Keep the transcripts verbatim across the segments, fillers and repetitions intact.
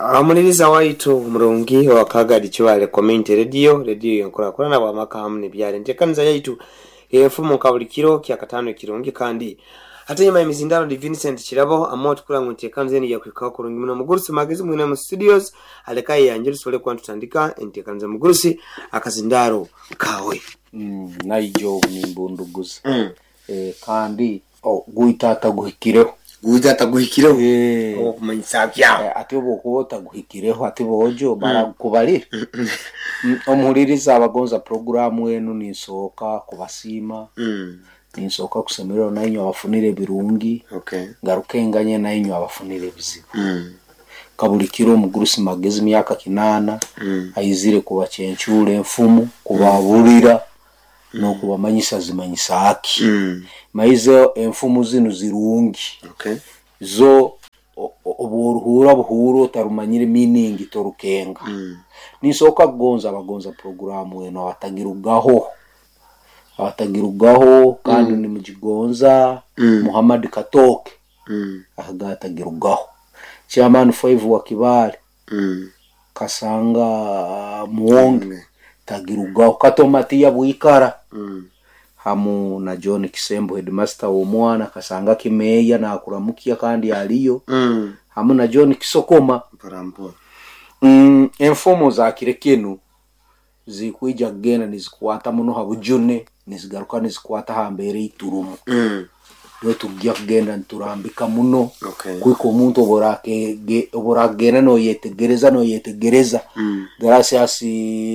Amuliriza waitu murungi wa Kagadi Kibaale Community Radio, radio yenkurakurana bwamaka hamu nebyalo enteekaniza yaitu enfumu nka buli kiro kyakataano ekirungi. Kandi hate nyuma y'emizindalo ndi Vincent Kirabo amu tukula ngu enteekaniza enu yakuhikaho kurungi muno. Mugurusi Magezi mwine mu studios alekayo yanjye tusobole kuba ntutandika enteekaniza. Mugurusi, akazindaro kawe. Mm, naijo obu nimbunduguza. mm. Eh, kandi oh, gwita ataguhikireho. Guza ataguhikireho. Eh, okumanyisa byawe. eh, ati obu okuba otaguhikireho ati bojo barakubalira. Mm, omuhuliriza abagonza puroguramu enu, ninsooka kubasiima, mm. ninsooka kusemererwa nainywe abafunire ebirungi, okay ngaruke nganye nainywe abafunire ebizibu. mm. Kabulikiro omugurusi Magezi myaka kinaana mm. aizire kubacencura enfumu, kubabulira n'okubamanyisa zimanyisa aki. mm. Maize enfumu zinu zirungi. okay Zo o- o- obworuhuura buhuura otarumanyire meaning torukenga. mm. Ninsooka kugonza abagonza puroguramu eno abatagirugaho, abatagirugaho kandi Mm. nimugigonza. Mm. Muhammad Katoke mm. akaga atagirugaho, chairman five wa Kibaale, mm. Kasanga Muwonge mm. tagirugaho, Katomatiya Bwikara mm. hamu na John Kisembo headmaster w'omwana, Kasanga Kimeya nakuramukia kandi aliyo, mm. hamu na John Kisokoma. Mpora mpora. mm, enfumo za kire kinu zikwija kugenda nizikwata muno ha bujune, nizigaruka nizikwata ha mbeera eiturumu. mm. Niwe tujja kugenda niturambika muno. okay Kwika omuntu oburakege- oburakugenda noyetegereza noyetegereza. mm. Gracias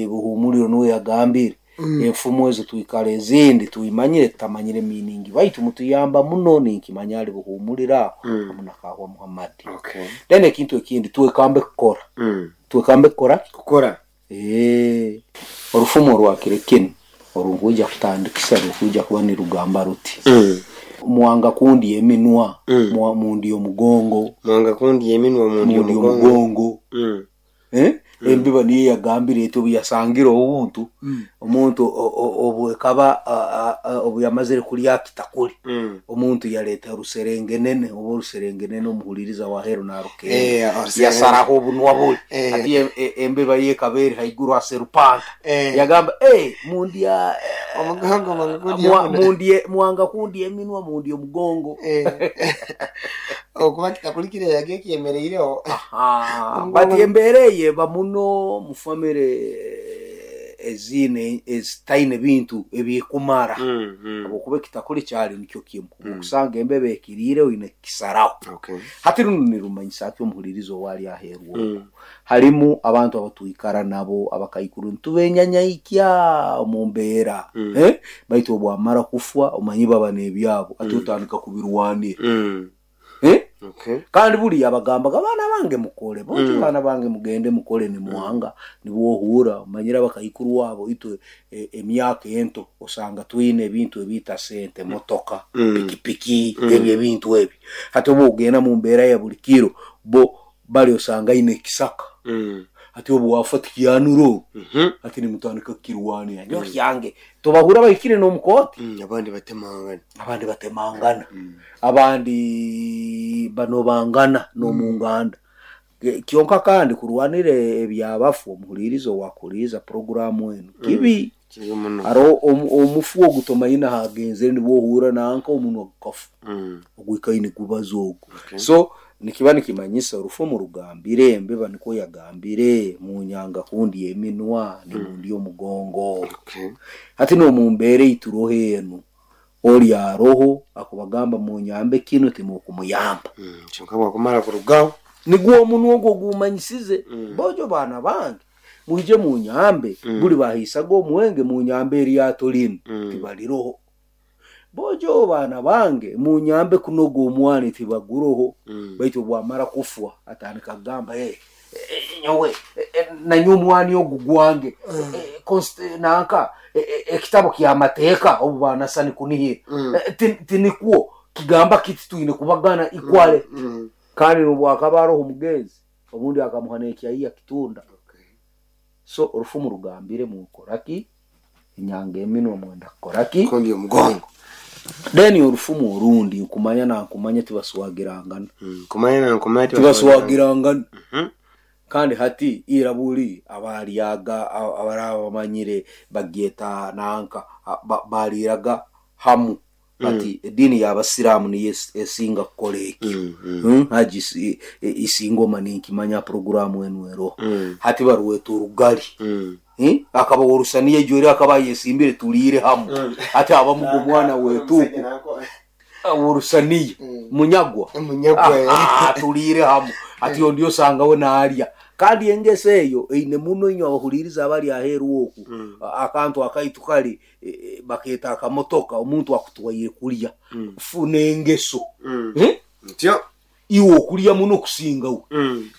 Buhumuriro niwe yagambire. Mm. Enfumo ezo twikara ezindi tuimanyire tutamanyire meaning, baitu mutuyamba muno, ninkimanya ali Buhumuriro aho Mm. hamu na Kahwa Muhammad. okay Then ekintu ekindi, twekambe kukora. mm. Twekambe kukora. Kukora. Eh, orufumo rwakire kinu orunkwija kutandikisa rukwija kuba nirugamba ruti: mm. mwanga kundi eminwa, Mm. mwa- mundi omugongo. Mwanga kundi eminwa mundi Mundi omugongo. omugongo. mm. Eh? Embiba niyo yagambire eti obu yasangire obuntu, Mm. omuntu o- o- obu ekaba a- a- a- obu yamazire kulya kitakuli, mm. omuntu yaleeta oruserengenene oba oruserengenene, omuhuliriza wahero narukenga. Eh, oruserenge- Yasaraho obunwa buli. Eh. Ati e- e- embeba yekaba eri haiguru aserupanta. Eh. Yagamba, "Eh, mundya Omugongo, mwanga kundi mwa- eminwa." mundye mwanga kundi eminwa mundi omugongo. Eh. Okuba kitakulikire yage kyemereireho. Aha, Omugongo- but embeera eyo eba muno mu famire ezine ezitaine bintu ebikumara, mm. mm. habwokuba ekitakuli kyali nikyo kimu. Mm. Okusanga embeba ekiriire oine kukisaraho. Okay hati runo nirumanyisa ati omuhuliriza owali aheeru okwo, mm. harimu abantu abatwikara nabo abakaikuru nitubenyanyaikya omu mbeera. Mm. Eh? Baitu obwamara kufwa omanyi baba n'ebyabo ati Mm. otandika kubirwanira. mm. Eh? okay Kandi buriya bagambaga, "Baana bange mukole boki, Mm. baana bange mugende mukole." Nimuhanga nibwohura omanyire abakaikuru wabo itwe e- emyaka ento osanga twine ebintu ebiita sente, motoka, Mm. pikipiki, Mm. ebyo ebintu ebyo. Hati oba ogenda mu mbeera ya buli kiro, bo bali osanga aine ekisaka. mm. Hati obu wafa tikiyanura, Mhm. hati nimutandika kukirwanira nyo kyange, tobahura bahikire n'omukooti. mm. abandi batemangana. Abandi batemangana. mm. Abandi banobangana n'omunganda. Ke- kyonka kandi kurwanira ebyabafu, omuhulirizo wakuliiza puroguramu enu kibi. Kiri muno. Hariho omu- omufu ogu tomanyi hagenzere, nibwohura nanka omunwa gukafu, mm. ogwikaine gubaza ogu. Okay. So nikiba nikimanyisa orufumu rugambire embeba nikwo yagambire, munyanga kundi eminwa ni mundi omugongo. Okay hati nomumbeera eituroho enu oli aroho akubagamba munyambe kinu, timukumuyamba. mm. kyonka bwakumara kurugaho. Nigwo omunwa ogwo gumanyisize. Mm. Bojo baana bange mwije munyambe. Mm. Buli bahisaga omwenge, munyambe eryato linu. Mm. Tibaliroho. Bojo baana bange munyambe kunoga omwani, tibaguroho. mm. Baitu bwamara kufwa atandika kugamba, "Hey, eh, nyowe eh, eh, nanye omwani ogu gwange. Eh, const- nanka eh, eh, ekitabo kyamateeka obu banasani kunihira. Mm. Eh, ti- tinikwo kigamba kiti twine kubagana ikwale." mm. Kandi nobwakaba aroho omugenzi obundi akamuha nekyaiya kitunda. okay So orufumu rugambire mukoraki, enyanga eminwa mwenda kukoraki? Kundi omugongo. Then orufumu orundi, nkumanya nankumanya tibaswagirangana. mm. kumanya na nkumanya. Tibaswagirangana. Mhm. Kandi hati ira buli abalyaga abaraba bamanyire bagyeta nanka baliraga hamu bati edini y'abasiramu niyo esinga kukola ekyo. Mm. Haji isingoma ninkimanya programu enu ero. Mm. Hati baruweta orugali. Mm. Eh? Akaba orusaniye ejwere akaba yesimbire tulire hamu. Mm. Hati abamugo omwana wetuku orusaniye. Mm. Munyagwa. Munyagwa. Ah, tulire hamu. Ati ndio sanga we naalya. Kandi engese eyo eine muno inyo abahuliriza abali aheru oku. Mm. Akantu akaitu kali e, baketa akamotoka omuntu akutwaire kulya. Mm. Funa engeso. Mm. Eh? Ntyo iwe okulya muno kusinga we. Mm.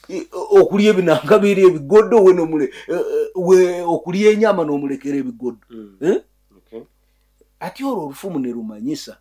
Okulya ebinanga biri ebigodo we nomule we okulya enyama nomulekera ebigodo. Mm. Eh? Okay. Ati olwo olufumu ne rumanyisa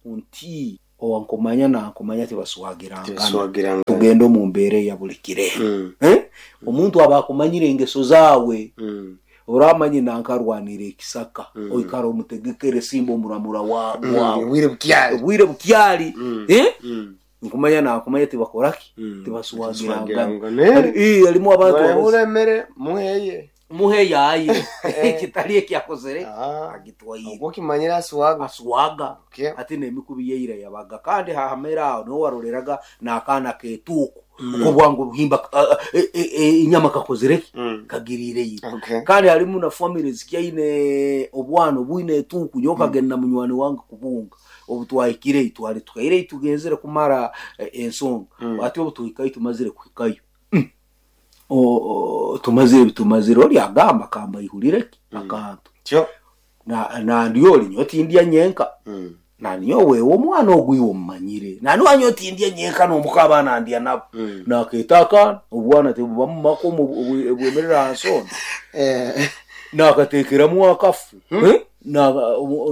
nti owankomanya nankomanya tibaswagirangana. Tugenda mu mbeera ya buli kire. Mm. Eh? Omuntu aba akumanyire engeso zaawe. Mm. Oramanye nankarwanira ekisaka. Mm. Oikara omutegekere simba omuramura wa Mm. wawe. Bwire bukyali. Bwire bukyali. Mm. Eh? Mm. Nkumanya nakumanya tibakoraki. Mm. Tibaswagirangana. Eh, alimu abantu Barahura muheye. Muheye aye. Kitali ekyakozere. Ah. Agitwaire. Ubwo kimanyira aswaga. Aswaga. Okay. Ati nemikubi yeira yabaga kandi hahamera aho niho waroreraga n'akaana ketuuku. Mm. Uko bwangu buhimba uh, e, e, e, inyama kakozereki Mm. kagirire yira. Okay. Kandi halimu na families kyaine obwana obwine etuuku nyoka mm. Genda munywani wange kubunga obutwahikire itwale tukaire itugenzere kumara eh, ensonga. Mm. Ati obutuhikayo tumazire kuhikayo. Mm. O, o tumazire bitumazire oli agamba kamba ihulireki Mm. akantu. Tyo. Na na ndioli nyoti ndya nyenka. Mm. Na nyowe omwana ogwiwo omumanyire. Na niwanyo tindya nyenka n'omukaba nandya nabo. Mm. Naketaka obwana tebuba mu mako bwemerera nsonda. Eh. Nakatekeramu akafu. Hmm. Eh? Na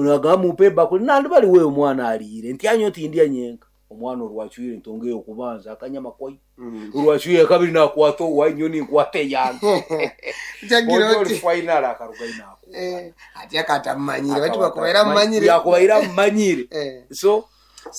nagamupe bakuli nandi bali wewe omwana aliire. Ntyanyo tindya nyenka. Omwana orwachwire ntongeyo kubanza akanyama koi. Mm. Orwachwire kabiri nakwata owanyo ninkwate yange. Jagira oti. Final akaruga inako. Eh, ati akatamanyire bati bakubaira manyire. Yakubaira manyire. Eh. So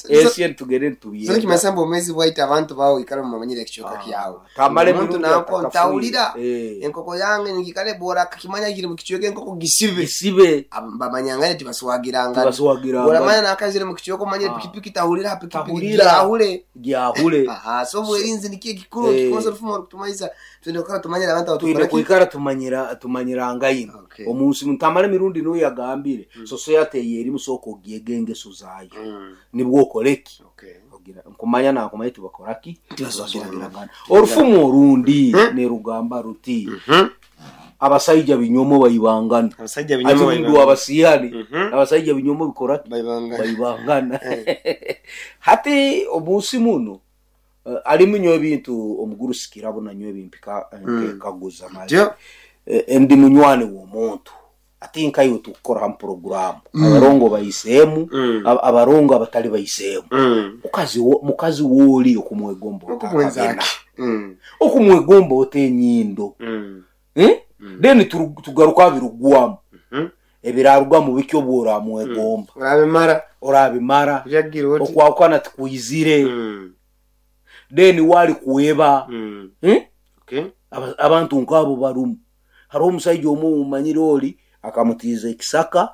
esi tugende tubiye. So kimasamba omwezi bwaita abantu bawo ikara mumanyire ekichoka kyawe. Tamale omuntu nanko ntawulira. Eh. Enkoko yange ngikale bora kakimanya kiri mu kichweka enkoko gisibe. Gisibe. Bamanyangane tibaswagiranga. Tibaswagiranga. Bora manya nakazire mu kichweka omanyire Ah. pikipiki tahulira pikipiki Tahulira. gyahule. Gyahule. Aha, so bwerinzi nikiye kikuru Eh. kikozo rufumo rukutumaiza twende kukara tumanyira abantu Twine abatukora. kuikara tumanyira tumanyiranga ino. Okay. Omunsi ntamale mirundi no yagambire. Mm. So so yateye eri musoko gyegenge suzayo. Mm. Nibwo okoleki. Okay. Ogira nkumanya nakumanya tibakoraki. Tibaswagirangana. Orufumu orundi Mm. ne rugamba ruti. Mhm. Abasajja binyomo bayibangana. Abasajja Ati binyomo mundu abasiyani. Mhm. Abasajja binyomo bikoraki bayibangana. bayibangana. Hati omunsi muno uh, alimu nyo ebintu omugurusikira bona nyo ebimpika Mm. kaguza mali. Tyo. Eh, ndi munywani w'omuntu ati nkayo tukora ham program Mm. abarongo bayiseemu Mm. ab- abarongo abatali bayiseemu Mm. mukazi wo mukazi woli okumwegomba Okumwenzaki. Mm. okumwegomba otenyindo Mm. eh Mm. then tugaruka birugwamu Mhm. ebirarugwamu bikyo bworamwegomba Urabimara orabimara byagira oti. okwakwana tikuyizire Mm. then wali kuweba Mm. eh Okay. Aba- abantu nkabo barumu hariho omusajja omu omumanyire oli akamutiiza ekisaka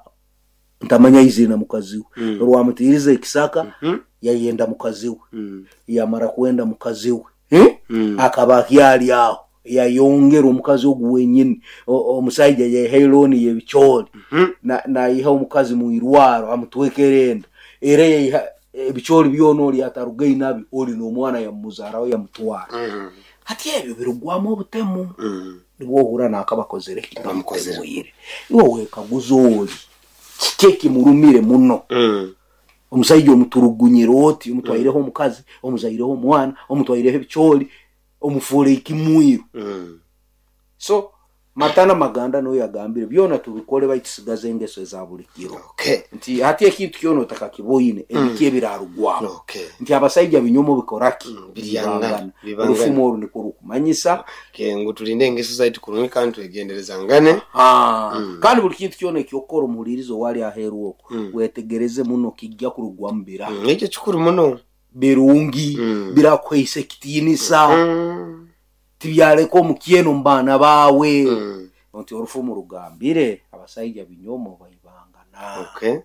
ntamanya izina mukazi we Mm. olwamutiiriza ekisaka Mhm. yayenda mukazi we Mm. yamara kwenda mukazi we eh? Mm. akaba akyali aho yayongera omukazi ogu wenyini omusajja yaiha elooni y'ebicoori Mhm. nayiha omukazi mu irwaro amutwekera enda era yaiha ebicoori byona oli atarugayo nabyo oli n'omwana yamuzaaraho yamutwara Mm. hati ebyo birugwamu obutemu Mm. nibwo ohura nakabakozere Bamukozere. bamukozere iwe wekaguza oli kiki ekimurumire muno Mm. omusajja omuturugunyire oti omutwaireho omukazi omuzaireho omwana omutwaireho ebicoori omufuure ekimwiru Mm. so matana maganda noyo yagambire byona tubikole baitusigaze engeso eza buli kiro Okay. nti hati ekintu kyona otakakiboine ebiki ebirarugwamu Okay. nti abasajja binyomo bikoraki Mm, biryangana, bibangana bibangana. orufumu oru nikwo rukumanyisa Okay, ngu tulinde engeso zaitu kurungi kandi twegenderezangane. Ah, Mm. kandi buli kintu kyona ekyokukora omuhulirizo wali aheeru okwo Mm. wetegereze muno kijja kurugwamu bira Mm. Ekyo kikuru muno. birungi Mm. birakuhaisa ekitiinisa Mm. Tibyaleka omukyeno mu baana baawe. Mm. Nti orufumu rugambire abasaija binyomo baibangana. Okay.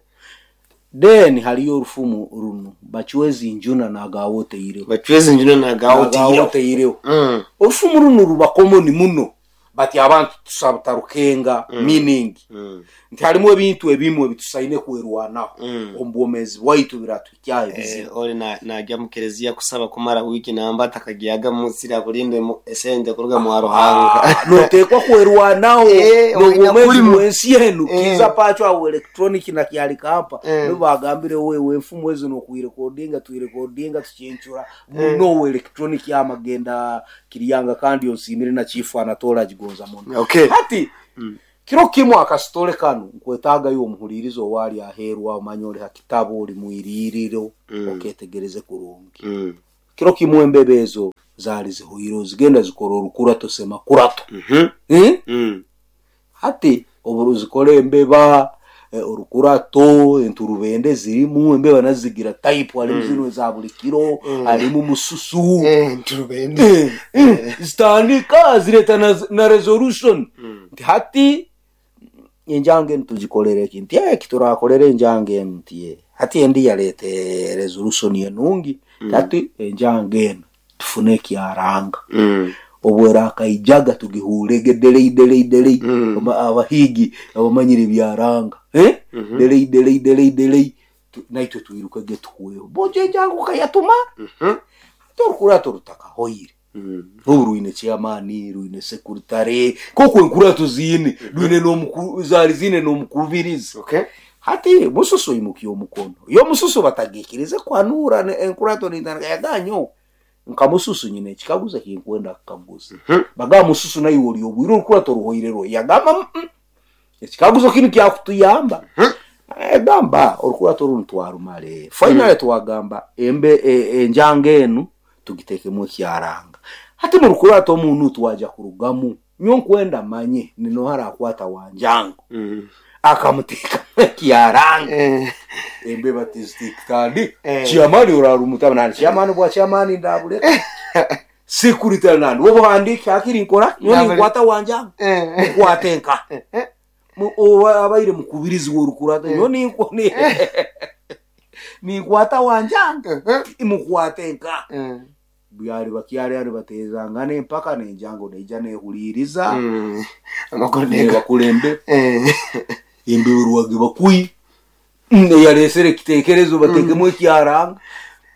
Then haliyo orufumu runu bachwezi njuna nagawoteireho. Bachwezi njuna nagawoteireho. Nagawoteireho. Mm. Orufumu runu ruba common muno bati abantu tusabutarukenga Mm. meaning. Mm. Nti halimu ebintu ebimwe bitusaine kwerwanaho. Mm. Omu bwomeezi bwaitu biratuhikyaho ebizibu. Eh, oli na najya mu kereziya kusaba kumara wiki namba atakagyaga munsi akulinde esente kuruga mu Ruhanga. Ah, noteekwa kwerwanaho. Eh, n'obwomeezi oina bw'ensi enu. Eh. Kiza pacho awo electronic na kyalikampa. Eh. Nibo bagambire wewe enfumu ezo nokuirekodinga tuirekodinga tucyencura muno electronic yamagenda kiriyanga kandi onsimire na chifu anatola gigonza muno. Okay. Hati Mm. kiro kimu akasitole kanu nkwetagayo omuhulirizo owali aheerwa omanya oli ha kitabu oli mwiririro. Mm. Oketegereze kurungi. Mm. Kiro kimu embebe ezo zaali zihuire zigenda zikora orukurato sema kurato. Mhm. Eh? Mm. Hati obu zikora embeba eh, orukurato enturubende zirimu embeba nazigira type halimu Mm. zino eza buli kiro. Mm. Halimu mususu. Eh, nturubende. Eh, eh, zitandika zireta na, na resolution. Mm. Nti hati enjange enu tugikolere ki nti eh, kiturakolera enjange enu nti eh, hati endi yaleta resolution enungi. Mm. Hati enjange enu tufune ekyaranga. Mm. Obwera akaijaga tugihurege delei delei delei. Mm. Aba- abahigi abamanyire byaranga eh? Mhm. Delei delei delei delei. Tu- naitwe twirukege tuhuweho bojo enjango ukayatuma. Mhm. Torukurato rutakahoire. Mm. Obu rwine chairman rwine secretary koko enkurato ziine rwine n'omuku zali ziine n'omukubirizi. Okay. Hati mususu imukiye omukono yo mususu batagikirize kwanura ne- enkurato nitandika yaganyo nka mususu nyine ekikaguzo kinkwenda kukaguza. Mhm. Bagamba mususu naye oli obwire orukurato ruhoire rwo yagamba "Mm, mm. Ekikaguzo kinu kyakutuyamba." Mhm. Egamba orukurato runu twarumale finally twagamba embe e- enjanga enu tugitekemu ekyaranga. Hati mu rukurato omuntu twaja kurugamu nyo nkwenda manye ninohara akwata wanjango. Mm. Akamuteekamu ekyaranga. Eh. Embeba tizitandi Eh. chiamani orarumutaba nani chiamani bwa chiamani ndabuleka security nani obuhandike akiri nkora nyo Ndabule- ninkwata wanjango. Eh. Mukwate nka Eh. Mu- owa- abaire mukubirizi w'orukurata nyo ninkwa- ni- ninkwata wanjanga. Mhm. Mukwate nka Eh. byali bakyali ali batezangana empaka nenjango neija nehuliriza. Mm. Amakuru nega. Nebakulembe Eh. embeberwage bakui neyalesere ekitekerezo batekemu ekyaranga.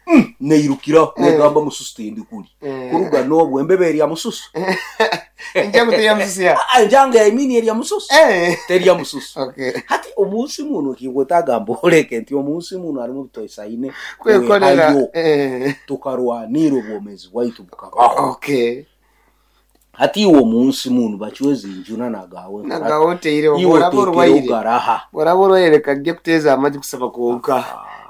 Mm, neirukiraho negamba mususu tindi kuli. Eh. Kuruga n'obwo embebe erya mususu. Enjango terya mususu ya. Ah, enjango yaimini erya mususu. Eh. Terya mususu. Okay. Hati omunsi muno kinkwetagamba oleke nti omunsi muno harimu bitoisaine Kwekolera. kwehayo Eh. tukarwanira obwomezi bwaitu bukabaho. Okay. Hati iwe omunsi muno bachwezi njuna nagawe Nagawoteire iwe oraba tekere orwaire. ogaraha. Oraba orwaire kajja kuteeza amagi kusaba kwonka.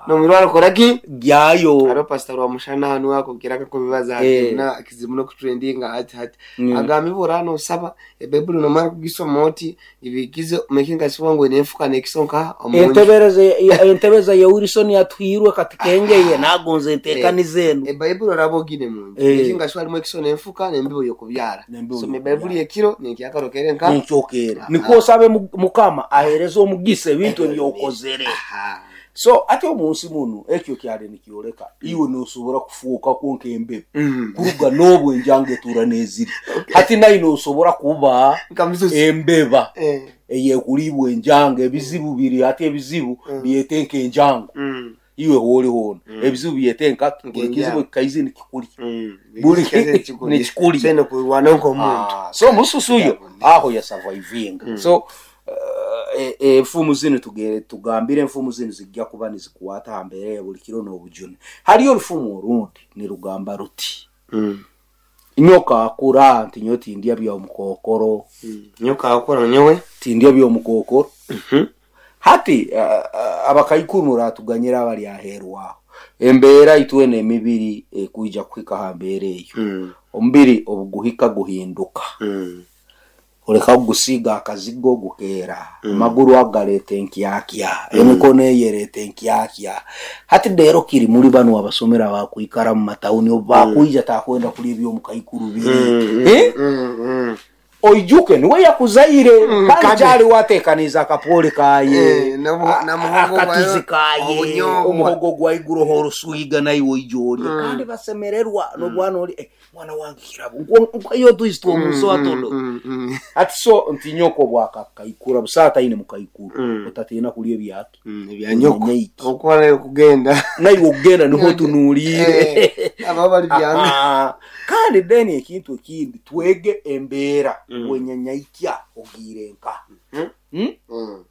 Nomurwara kora ki? Gyayo. Hariho pastor Rwamushana hanu akongera akakubibaza Eh. na kizibu n'okutrendinga hati hati. Mm. Agamba ibura nosaba ebaibuli nomara kugisoma oti ibikize making sure ngo nenfuka nekisonka omunju. Entebereza entebeza ya Wilson yatuhirwe katikengeye nagonze entekaniza enu. Ebaibuli oraba ogine munju. Eh. Making sure harimu ekiso nenfuka nembibo yokubyara. Nembibo Soma yokubyara. ebaibuli ekiro nenkyakarokerere nka. Nenkyokera niko osabe mu- mukama ahereze omugisa ebintu ebyokozere. Aha. So ate omunsi muno ekyo kyali nikyoleka iwe nosobora kufuuka kwonka embebe. Mm. Kuruga n'obwo enjanga etuura n'eziri hati naye nosobora kuba Nka mususu. embeba Eh. eyekulibwa enjanga ebizibu biri hati ebizibu Mm. byete nkenjango. Mm. Iwe hooli hoona ebizibu byete nka buli kizibu Nkenjango. kikaize nikikulya. Mm. Buli Nekikuli. nekikulya. Sene kurwana nk'omuntu. Ah, so mususu uyo Ndabona. aho yasurvivinga. So eh, eh, enfumu zino tugere tugambire enfumu zino zijja kuba nizikwata ha mbeera ya buli kiro n'obujune. Haliyo orufumu orundi nirugamba ruti Mm. nyoka akura nti nyo tindya by'omukokoro. Mm. Nyoka akura nyowe. Tindya by'omukokoro. Mhm. Hati uh, uh, abakaikuru muratuganyira abali aheeru aho embeera itwena emibiri ekwija kuhika ha mbeera eyo. Mm. Omubiri obuguhika guhinduka. Mm. Oleka kugusiiga akazigo gukeera, amaguru ago galeeta enkyakya, emikono eyo ereeta enkyakya. Hati rero kiri muri banu abasomera bakwikara mu matawuni, obu bakwija takwenda kulya ebyomukaikuru biri. Eh? Oijuke niwe yakuzaire, Mm, kandi kandi- kyali watekaniza akapole kaye, Eh, nobu- a- na muhogo akatuzi gwayo, kaye, obunyobwa. Omuhogo gwa iguroho oruswiga naiwe oija olya, Mm. kandi basemererwa nobwana oli, "Eh, mwana wange kirabo nkayo tuisi twomusoa tondo." Ati so nti nyoko bwakakaikura busaata taine mukaikuru, Mm. otatina kulya ebyaki Ebyanyoko. Nyenyeki. Okuba kugenda Naiwe okugenda niho tunuliire. Eh, abo bali byanga. Aha. Kandi then ekintu ekindi, twege embeera Mm. bwenyanyaikya ogiire nka Mm. Hmm? Mm.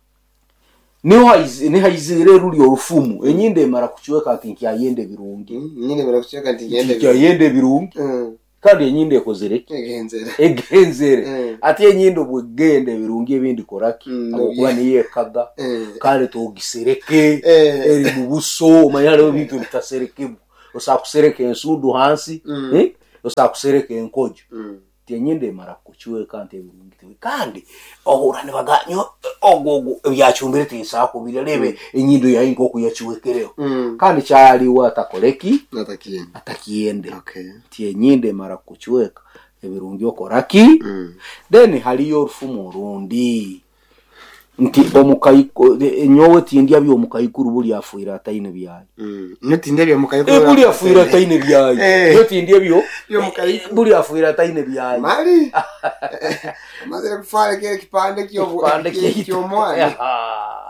Niho haizi- niho haizire ruli orufumu, enyindo emara kucweka nti nkyayenda ebirungi. Nyine barakuceka nti ngende. Nkyayenda ebirungi. Mm. Kandi enyindo ekozere ki? Egenzere. Egenzere. Mm. Ati enyindo bwegenda ebirungi ebindi koraki? Mm, Habwokuba no, niyo ekaga. Eh. Kale togisereke, Eh. eri mu buso. Omanye hariho ebintu ebitaserekebwa, osobola kusereka ensundu hansi, Mm. eh? Osobola kusereka enkojo. Mm. Ti enyindo emara kucweka nti ebirungi tibi, kandi ohura nibaganyo ogwo ogwo ebyacumbire tinsakubirya, rebe enyindo yayi nkoku yacwekereho. Mm. Kandi kyaliwo atakoreki? Natakiyende. Atakiyende. Okay. Ti enyindo emara kucweka ebirungi okoraki? Mm. Then haliyo orufumu orundi nti omukaiko nyowe tindya byomukaikuru buli afuire ataine byayo. Mm. Notinde bya Eh, buli afuire ataine byayo. Eh. Nyo tindya byo Byomukaikuru. Buli afuire ataine byayo. Mali amazire kufara kile kipande kyo Kipande kyaitu. kyomwana. Aha.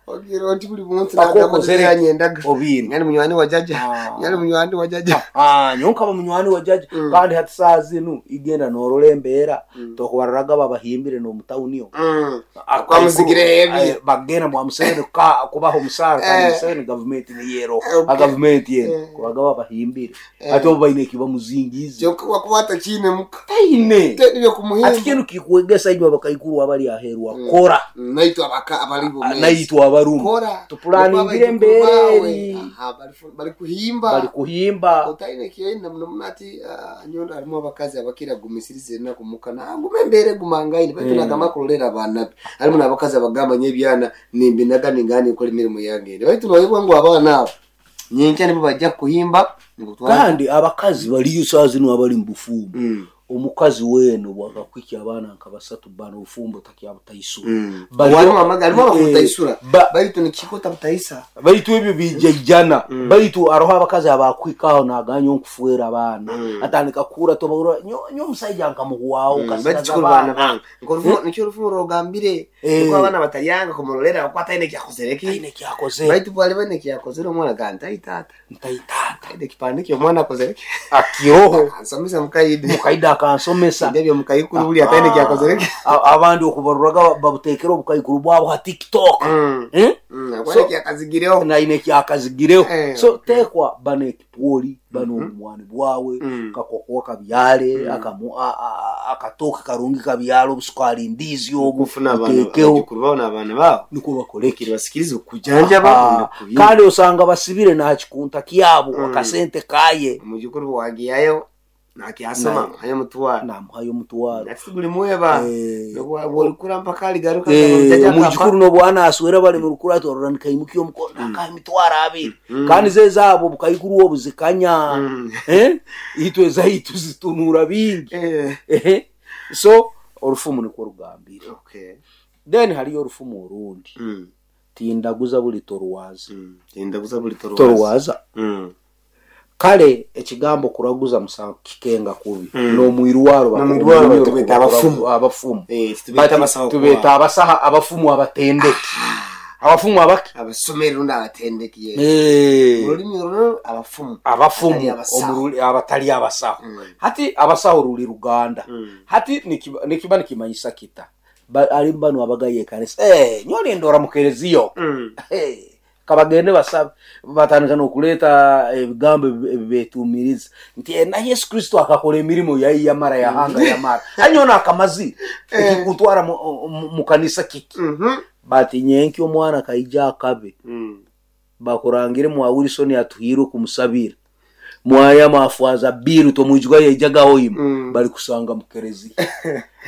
Ogira oti buli muntu Akokozere nagamba obini. nyali munywani wa jaja. Ah. Nyali munywani wa jaja. Ah, nyowe nkaba munywani wa jaja. Mm. Kandi hati saa zinu igenda norora embeera tokubararaga babahimbire n'omutawuni omwo. Mm. Kwamuzigire ebi. Eh, bagenda mwa Museveni ka- kubaha omusaara kandi Eh. Museveni gavumenti niyero. Okay. A gavumenti eno Eh. kubaga babahimbire, Eh. ate obo baine ekibamuzingiize. Kyokka wakuba takiine muka. Taine. Teri byokumuhimba. Ati kinu kikwegesa inywe abakaikuru abali aheru akora. Naitwe abaka abali bomezi. Naitwe abarumu Kora. Tupulaningire Embere. embere. Aha, bali bali kuhimba. Bali kuhimba. Otaine kyenda muno muno ati ah, nyondo harimu abakazi abakira gumisiriza enaku muka nagume embere gumangaine baitu Mm. nagamba kurolera abaana be. Harimu n'abakazi abagamba nye ebyana nimbinaga ningani nkora emirimu yange, baitu noyebwa ngu abaana abo nyenkya nibo bajja kuhimba nikutwara. Kandi abakazi baliyo saa zinu abali mu bufumbo. Mm. Omukazi weno bwakakwikya abaana nka basatu bana, obufumbo takyabutaisura. Mm. Baliyo- Harimu amaga- harimu Eh, abakutaisura ba- baitu nikikota butaisa. Baitu ebyo bijaijana, baitu aroho abakazi abakwikaho naganya onkufuera abaana, atandika kura tobahura nyo nyo omusaija nkamuhwaho baitu kasigaza kikuru baana abaana. bange Nko nikyo orufumu rugambire, Eh. niko abaana batalyanga kumurolera bakwata aine kyakozere ki. Taine kyakozere. Baitu bwali bane kyakozere omwana gamba ntaitaata. Ntaitaata. Aine kipande kyomwana akozere ki. Akiroho. Ansomesa mukaide. Mukaida akansomesa. Ndebyo mukaikuru buli ataine kyakozere ki. A- abandi okubaruraga babutekera obukaikuru bwabo ha TikTok. Mm. Eh? Mm, So- akwine kyakazigireho. Naine kyakazigireho. Eh, So okay. tekwa bana ekipwoli bana obumwani bwawe, Mm. kakokoa kabyale, akamu- a- a- akatooke karungi kabyale, obusukali ndizi obu Okufuna abaana oteekeho. abajukuru baabo n'abaana baabo. Nikwo bakoleki. Kiribasikiriza okujanjaba. Ah, kandi osanga basibire nakikunta kyabo akasente kaye. Omujukuru wagiyayo nakyasoma Na- hayo mutwara. Namuhayo omutwaro. Ati guli mweba. Eh. Bwolikura mpaka aligaruka. Eh, omujukuru nobwana aswera bali murukura atorora nikaimukia omukono nakaha emitwaro abiri, kandi ze zaabo obukaikuru obu zikanya. Mm. Eh, itwe ezaitu zitunura bingi. Ehe. So orufumu nikwo rugambire. Then hariyo orufumu orundi, tindaguza buli torwaza. Tindaguza buli torwaza. Torwaza. Mm. Kale ekigambo kuraguza musango kikenga kubi. Mm. N'omwirwaro. N'omwirwaro tubeta abafumu. Abafumu. Eh, tubeta Bati abasawo. Tubeta abasaha, abafumu abatendeki, abafumu abaki? Abasomeri rundi abatendeki, yes. Eh, Olulimi olwo abafumu. Abatali Abafumu. abasawo. Omuruli- abatali abasawo. Mm. Hati abasawo ruli ruganda. Mm. Hati nikiba nikiba nikimanyisa kita. Ba- ali bano abagaye ekanisa, eh, nyoli ndora mukereziyo. Mm. Eh, kabagende basabe, batandika nokuleeta ebigambo ebi- ebibetumiriza nti, "Eh, na Yesu Kristo akakora emirimu yayi yamara yahanga yamara anyona akamazi ekikutwara mu- mu- mu kanisa kiki?" Mhm. Bati nyenki omwana kaija akabe Mm. bakurangire mwa Wilson atuhirwe kumusabira. Mwayama afwaza biru tomwijuka yaijaga hoima Mm. bali kusanga mukerezi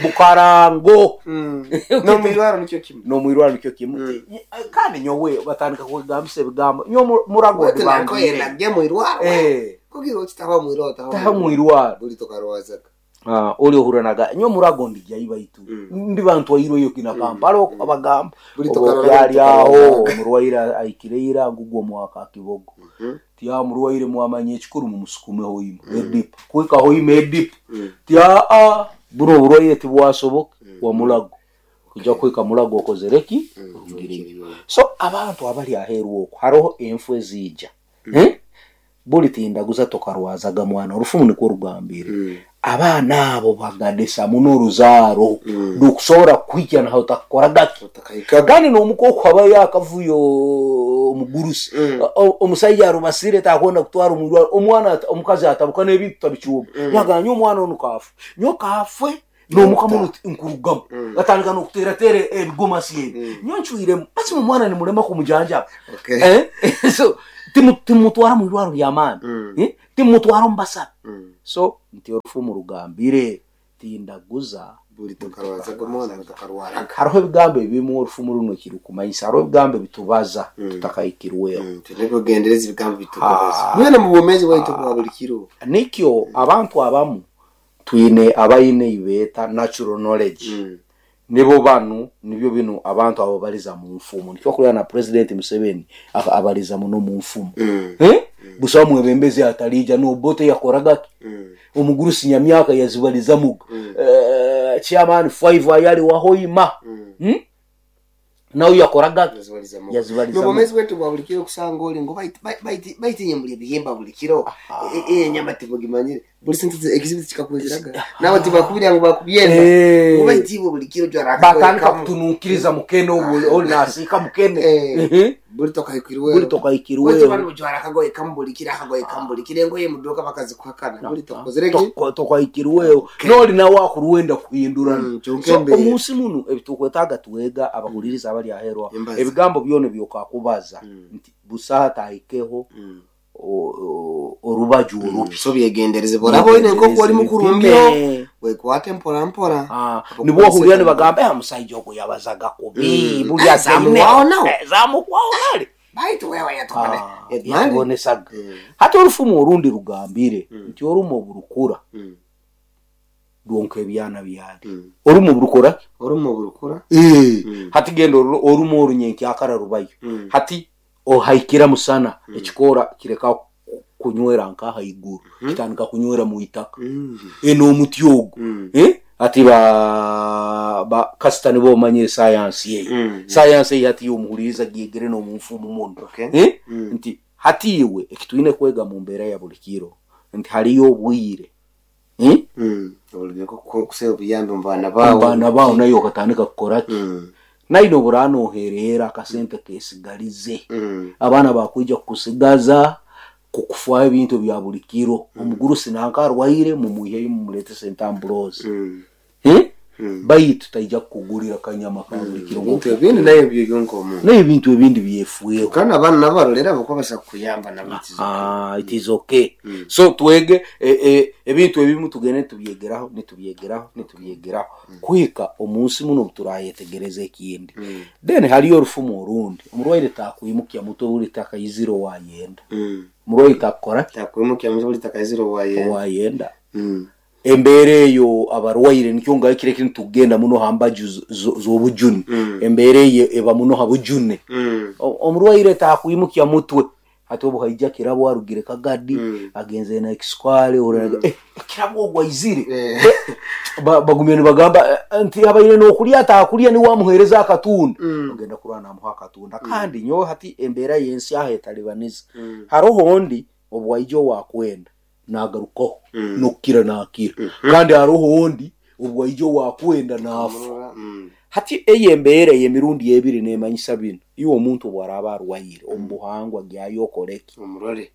bukarango. Mm. Nomwirwaro nicyo kimwe. Nomwirwaro nikyo kimu. Kandi nyowe batandika kwegambisa ebigambo nyo murago Wete nako ndibangire. yenagye mwirwaro. Eh. Kugira okitaho mwirwaro taho. Taha mwirwaro. Buli tokarwazaga. Ah, oli ohuranaga nyo murago ndijya baitu Mm. ndi bantu wairweyo kina Kampala abagamba Buli tokarora obyali aho tokarwazaga. omurwaire aikireira ngugwo mwaka kibogo. Mhm. Tya murwaire mwamanye ekikuru mumusukumeho ima edipu kwikaho ima edipu. Mm. Tya a buno oburwaire tibwasoboka wa mulago kuja kwika mulago okozereki orugireyo. So abantu abali aheru okwo hariho enfu ezija. Eh? Buli tindaguza tokarwazaga mwana orufumu nikwo rugambire. Mm. Abaana abo bagadesa muno oruzaaro Mm. ndukusobora kuhikya naho utakukoragaki. Utakahikaga. Kandi n'omukoku habayo akavuyo omugurusi. Mm. O- omusaija arubasire takwenda kutwara omurwaro omwana ata- omukazi atabuka n'ebintu tabicuba. Mm. Nyaganya omwana onu kafe nyo kafe n'omuka muno nkurugamu. Mm. Atandika n'okuteerateera ebigomasi ebi. Mm. Nyo ncwiremu basi omwana nimulema kumujanjaba. Okay. Eh? So timu- timutwara mu irwaro ly'amaani. Mm. Eh? Timutwara omu basabe. Mm. So nti orufumu rugambire tindaguza Buli tokarwazaga omwana tokarwaraga. Hariho ebigambo ebimu orufumu runo kirukumanyisa hariho ebigambo ebitubaza Mm. tutakahikirweho. Mm. Tunekogendereza ebigambo bitukubaza. Ah. Mwene mu bwomezi bwaitu bwa buli kiro. Nikyo abantu abamu twine abaine ibeeta natural knowledge. Mm. Nibo banu nibyo bino abantu abo baliza mu nfumu nikyo kulya na President Museveni aka- abaliza muno mu nfumu. Mm. Eh? Busa mwebembezi atalija n'Obote yakoragaki. Mm. Omugurusi nyamyaka yazibaliza muga. Mm. Eh, chairman five ayali wahoima. Mm. Hmm? Nawe yakoragaki. Yazibaliza mu. Yazibaliza mu. N'obwomezi bwaitu bwa buli kiro kusanga oli ngo baiti- baiti- baitinye muli ebihimba buli kiro. E- e- enyama tibugimanyire buli sintu ekizibu kikakwiziraga nawe tibakubira ngo bakubyenda. Eh. Ngo baitiibwe buli kiro jwara Batandika kutununkiriza mukene obu oli nasiika mukene. Eh. Mhm. Buli tokahikirweho. Buli tokahikirweho. Bali jwara akagoye kamu buli kiro akagoye kamu buli kiro engoye muduka bakazikuhakana buli tokozereki. Toko- tokahikirweho noli nawe akuruwenda kuhindurana. Mm, kyonka So embeera. omunsi muno ebitukwetaaga twega abahuliriza abali aherwa Embaza. ebigambo byona byokakubaza Mm. nti busaha tahikeho Mm. o- o- orubaju orubi. So byegendereze boraba oine nk'oku oli mukurumbyo Bipime. wekwate mpora mpora. Ah, nibwo ohurira nibagamba "Eh, omusajja ogwo yabazaga kubi Mm. buli azaine Zamuwaho nawe. Eh, zamuwaho nale." Baitu wewe yatubone. Ah, yatubonesaga. Hati orufumu orundi rugambire nti orumu oburukura rwonka ebyana byali. Orumu oburukura. Orumu oburukura. Hati genda oru- orumu orunyenkyakara rubayo. Mm. Hati ohaikira musana ekikoora kireka kunywera nka haiguru kitandika kunywera mu itaka. Eno omuti ogwo. Eh? Ati ba ba kasita nibo omanyire sayansi eyo. Mm. Sayansi eyo hati yomuhuliriza gyegere n'omunfumu muno. Okay. Eh? Mm. Nti hati iwe ekitwine kwega mu mbeera ya buli kiro nti hariyo obwire. Eh? Kusaba obuyambi mu baana baawe. Abaana bawo naye okatandika kukoraki. Mm. Naine oburanoherera akasente kesigalize. Mm. Abaana bakwija kukusigaza kukufaho ebintu bya buli kiro. Omugurusi nanka arwaire mumuiheyo mumulete sentambulozi. Mm. Eh? Mm. Baitu taija kukugulira kanyama ka buli kiro. Ebintu ebindi naye byonka omuntu naye ebintu ebindi byefueho. Kandi abaana nabo barolera bakuba basa kukuyamba nabo it is okay. Ah, it is okay. So twege eh, eh, ebintu ebimu tugende nitubyegeraho nitubyegeraho nitubyegeraho kuhika omunsi muno turayetegereza ekindi. Mm. Then hariyo orufumu orundi omurwaire takwimukya mutwe buli takayizire owayenda. Mm. Omurwaire takukora takwimukya mutwe buli takayizire owayenda. Owayenda. Mm. Embeera eyo abarwaire nikyo ngahikire kinu tugenda muno ha mbaju zo- zo- z'obujuni. Mm. Embeera eyo eba muno ha bujune. Mm. O- omurwaire takwimukya mutwe hati obu haija kirabo arugire kagadi. Mm. Agenze na ekiswale mm. Eh, kirabo ogwo aizire. Eh. Eh, ba- bagumye nibagamba eh, nti abaire n'okulya atakulya niwe amuheereza akatunda. Mm. Ogenda kurwana namuha akatunda kandi nyowe hati embeera y'ensi aho etalibaniza. Mm. Haroho ondi obu waija owakwenda nagarukaho Mm. nokukira nakira kandi haroho ondi obu waija owakwenda nafa. Mm. Hati eyo embeera ey'emirundi ebiri nemanyisa bino iwe omuntu bwaraba arwaire omu buhangwa gyayo okoreki. Omurore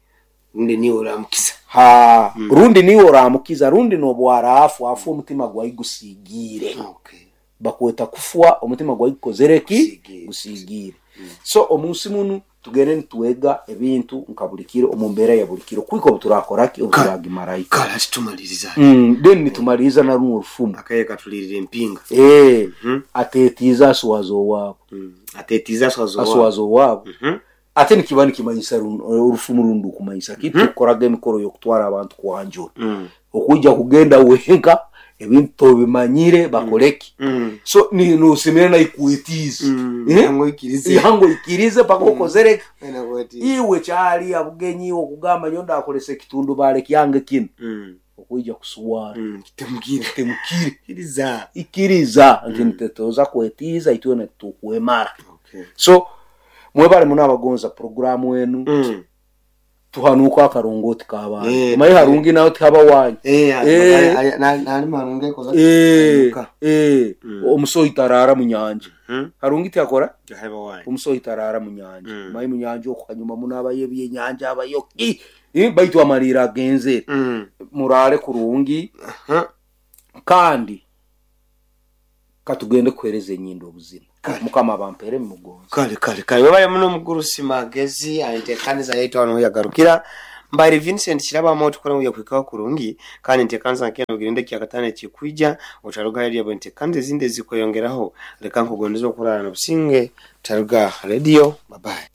rundi niwe oramukiza. Ha rundi niwe oramukiza rundi nobwaraafwa afa omutima gwayi gusigiire. Okay. Bakweta kufwa omutima gwayi gukozereki. Gusigiire. Gusigiire. So omunsi munu Tugende nitwega ebintu nka buli kiro omu mbeera ya buli kiro kwika obu turakoraki obu turagimarayo. Kale ati tumaliriza. Mm, then nitumaliriza na runo orufumu. Akaye katulirira empinga. Eh, Mhm. atetiiza aswaza owaabo. Mm. Atetiiza aswaza owaabo. Aswaza owaabo. Mhm. Ate nikiba nikimanyisa run- orufumu rundi kumanyisa ki? Tukoraga emikoro y'okutwara abantu kwanjura. Mm. Okujja kugenda wenka ebintu tobimanyire bakoleki. Mm. So ni nosemera naikwetiiza. Mm. Eh? Yango ikirize. Yango ikirize paka okozereki. Wena kwetiiza. Iwe kyali abugenyi okugamba nyo ndakolesa ekitundu bale kyange kino. Mm. Okwijja kusuwara. Mm. Kitemukire. Temukire. Kiriza. Ikiriza nti nitetoza kwetiiza itwena tukwemara. Okay. So mwebale muno abagonza programu enu. Mm. Tuhanuka akarongoti k'abantu. Eh, Omanyi harungi nawe tihaba wanyu. Eh, Eh. ay- na- nali marungi koza. Eh, eh, Mm. omusohi tarara mu nyanja. Mhm. Harungi tiyakora? Haba wanyu. Omusohi tarara mu nyanja. Mm. Omanyi mu nyanja okuhanyuma muno abayo ebyenyanja abayo ki? Eh, baitu amalira agenzere. Mm. Murare kurungi. Aha. Kandi katugende kuhereza enyindo obuzima. Kale. Mukama abampere mugonzi. Kale kale kale webale muno omugurusi magezi enteekaniza yaitu hano yagarukira. Mbari Vincent kirabamo tukora ngu yakwikaho kurungi kandi enteekaniza nkeno ogirinde kyakatano ekikwija otaruga hali abo enteekaniza ezindi ezikweyongeraho. Leka nkugondeza okurara n'obusinge taruga radio. Bye bye.